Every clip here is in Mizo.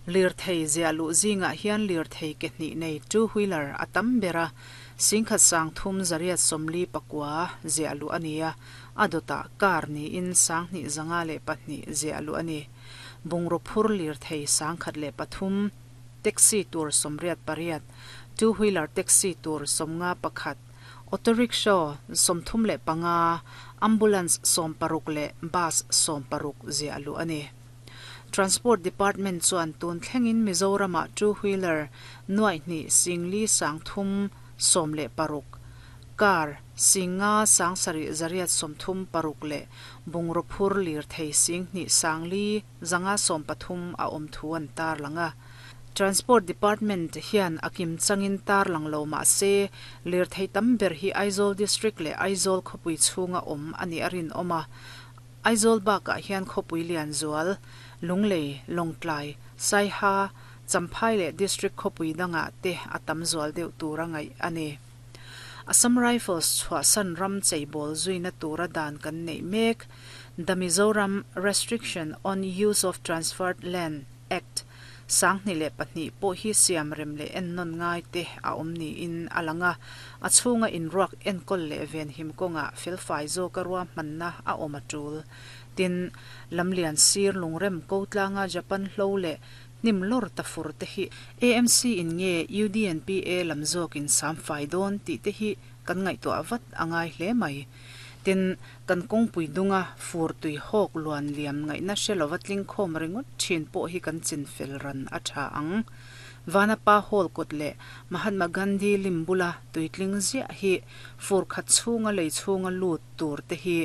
Lirthei ziah luh zingah hian lirthei ke hnih nei two wheeler a tam ber a, 13,349 ziah luh a ni a, a dawtah car niin 2502 ziah luh a ni. Bungraw phur lirthei 1003, taxi tur 88, two wheeler taxi tur 51, auto rickshaw 35, ambulance 60 leh bus 60 ziah luh a ni. Transport Department chuan tun thlengin Mizoramah two wheeler nuaih hnih singli 316, car 5 7,836 leh bungraw phur lirthei 2 5,130 a awm thu an tarlang a. Transport Department hian a kim changin tarlang lo mah se lirthei tam ber hi Aizawl District leh Aizawl khawpui chhunga awm a nih a rinawm a. Aizawl bakah hian khawpui lian zual, Lunglei, Lawngtlai, Saiha, Champhai leh District khawpui dangah te a tam zual deuh tura ngaih a ni. Assam Rifles chhuahsan ram cheibawl zuina tura dan kan neih mek, The Mizoram Restriction on Use of Transferred Land Act, 2002 pawh hi siam rem leh ennawn ngai te a awm niin a lang a, a chhunga inruak enkawl leh venhim kawngah felfai zawka ruahmanna a awm a tul. Tin, lamlian sir lungrem ko tlanga Japan hlo leh hnim lawr ta fur te hi AMC in nge UDNPA lam zawkin sam fai dawn tih te hi kan ngaihtuah vat a ngai hle mai. Tin, kan kawngpui dunga fur tui hawk luan liam ngaihna hre lova tling khawm ringawt thin pawh hi kan chin fel ran a tha ang. Vanapa Hall kawt leh Mahatma Gandhi lim bula tui tling ziah hi fur khat chhunga lei chhunga lut tur te hi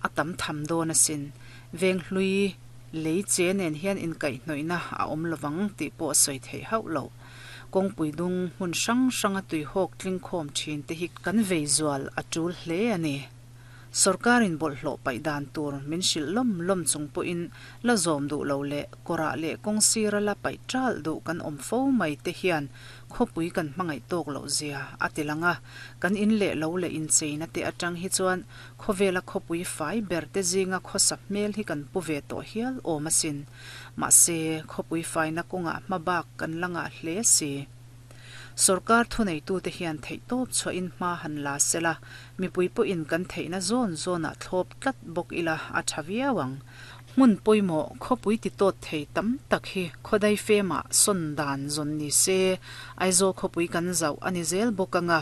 a tam tham dawn asin. Veng hlui lei che nen hian inkaihhnawihna a awm lovang tih pawh a sawi theih hauh lo. Kawngpui dung hmun hrang hranga tui hawk tling khawm thin te hi kan vei zual a tul hle a ni. Sorkarin bawlhhlawh paih dan tur min hrilh lawm lawm chung pawhin la zawm duh lo leh kawrah leh kawng sira la paih ṭalh duh kan awm fo mai te hian khawpui kan hmangaih tawk loh zia a ti lang a. Kan in leh lo leh incheina te aṭang hi chuan khawvela khawpui fai ber te zinga khawsa hmel hi kan pu ve tawh hial awm asin. Mahse, khawpui faina kawngah hma bak kan la ngah hle si. Sorkar thuneitute hian theihtawp chhuahin hma han la sela, mipui pawhin kan theihna zawn zawnah thlawp tlat bawk ila a tha viau ang. Hmun pawimawh khawpui ti tawt thei tam tak hi khawdai femah sawn dan zawn ni se, Aizawl khawpui kan zauh a ni zel bawk anga,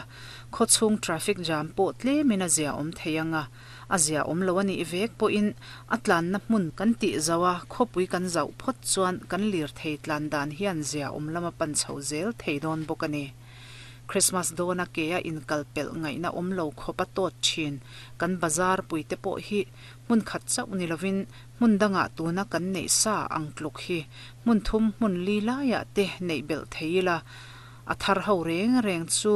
khawchhung traffic jam pawh tlemin a zia awm thei anga, A zia awm lo a nih vek pawhin a tlanna hmun kan tih zauh a, khawpui kan zauh phawt chuan kan lirthei tlan dan hian zia awm lama pan chho zel thei dawn bawk a ni. Christmas dawna ke a inkal pelh ngaihna awm lo khawp a tawt thin kan bazar puite pawh hi hmun khat chauh ni lovin hmun dangah tuna kan neih sa ang tluk hi hmun thum hmun li laiah te neih belh thei ila a thar ho reng reng chu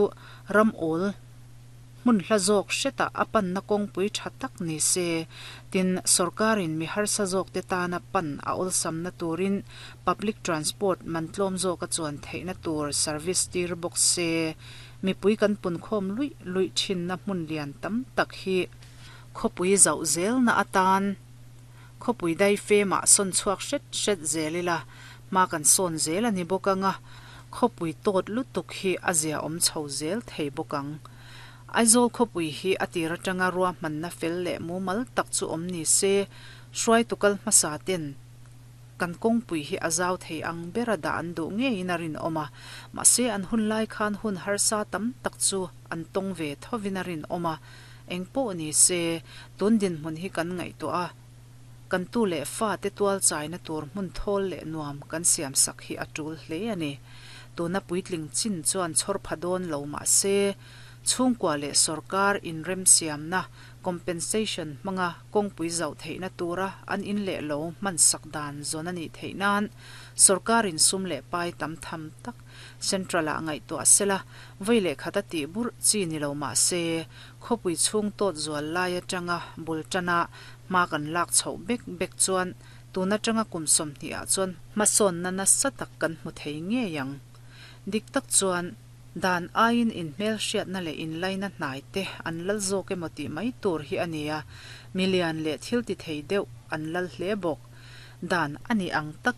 ram awl Hmun hla zawk hretah a panna kawngpui tha tak ni se, tin, sorkarin mi harsa zawkte tana pan a awlsamna turin public transport man tlawm zawka chuan theihna tur service tir bawk se, mipui kan punkhawm luih luih thinna hmun lian tam tak hi khawpui zauh zelna atan khawpui daifemah sawn chhuak hret hret zel ila, hma kan sawn zel a ni bawk anga, khawpui tawt lutuk hi a ziaawm chho zel thei bawk ang. Aizawl khawpui hi a tir atanga ruahmanna fel leh mumal tak chu awm ni se, hruaitu kal hmasa ten kan kawngpui hi a zau thei ang bera dah an duh ngeiin a rinawm a, mahse an hun lai khan hun harsa tam tak chu an tawng ve thovin a rinawm a, engpawh ni se, tun dinhmun hi kan ngaihtuah a, kan tu leh fate tual chaina tur hmun thawl leh nuam kan siam sak hi a tul hle a ni. Tuna puitling chin chuan chhawr pha dawn lo mah se, chhungkua leh sorkar inremsiamna, compensation, hmanga kawngpui zauh theihna tura an in leh lo hman sak dan zawn a nih theih nan sorkarin sum leh pai tam tham tak Central-ah ngaihtuah sela, vawi leh khat a tih burh chi ni lo mah se, khawpui chhung tawt zual lai atanga bul tana hma kan lak chhoh bek bek chuan tun atanga kum 20 ah chuan hmasawnna nasa tak kan hmu thei ngei ang. Dik tak chuan dan aiin inhmelhriatna leh inlaina hnai te an lal zawk emaw tih mai tur hi a ni a, milian leh thil ti thei deuh an lal hle bawk. Dan a ni ang tak.